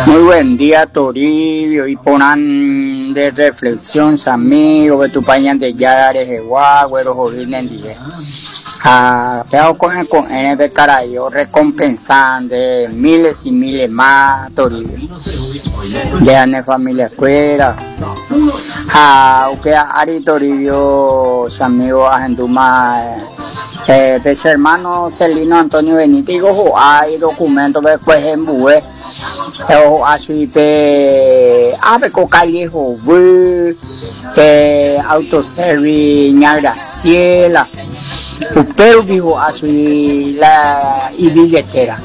Muy buen día, Toribio, iporã de reflexión, amigo, de Tupã Ñandejára rehegua, guerohory nendive. Ha péva ko'ẽ ko'ẽre pe karai orrecompensa nde miles y miles más, Toribio. Nde ha ne familia-kuéra. Ha upéva ári, Toribio, che amigo, ahendúma eh, pe che hermano Celino Antonio Benítez oho'a idocumento-pe kuehembue. Oho'a chui pe ápe ko calle Hovy, pe autoservice Ña Graciela, upérupi ho'a chui la ibilletera.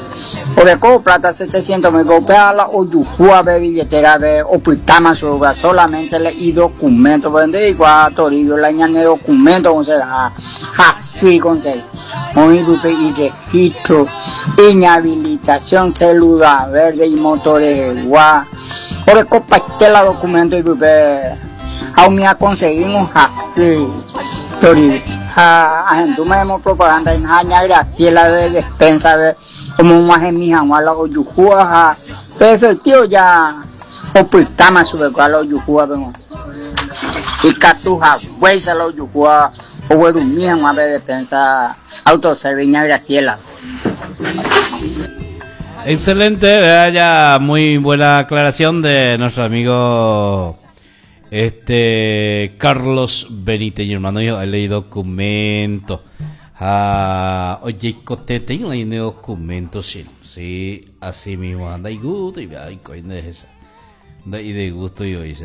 Oreko plata 700 mil, upéva la ojuhúva pe billetera-pe opytáma chupe, upéva solamente la idocumento, porque nde'ikuaa Toribio la ñane documento oserá hasy ikonsegui. Oĩ pype iregistro, iñhabilitación, célula verde imoto rehegua, orekopaite la documento ipype ha umi aconseguímo hasy Toribio. Ha ahendúma hemopropaganda ha Ña Graciela de despensa-pe omog̃uahẽmi hag̃ua la ojuhúva ha pe efectivo ja opytáma chupekuéra la ojuhúvape g̃uarã. Ikatu haguéicha la ojuhúva oguerumi hag̃ua pe despensa autoservice Ña Graciela. Excelente, vaya, muy buena aclaración de nuestro amigo este Carlos Benítez, mi hermano, yo he leído documento. Ah, oye, cotete, no hay documento, sí, sí, así mismo, anda y gusto, y ay, coño, esa. Anda y de gusto y hoy.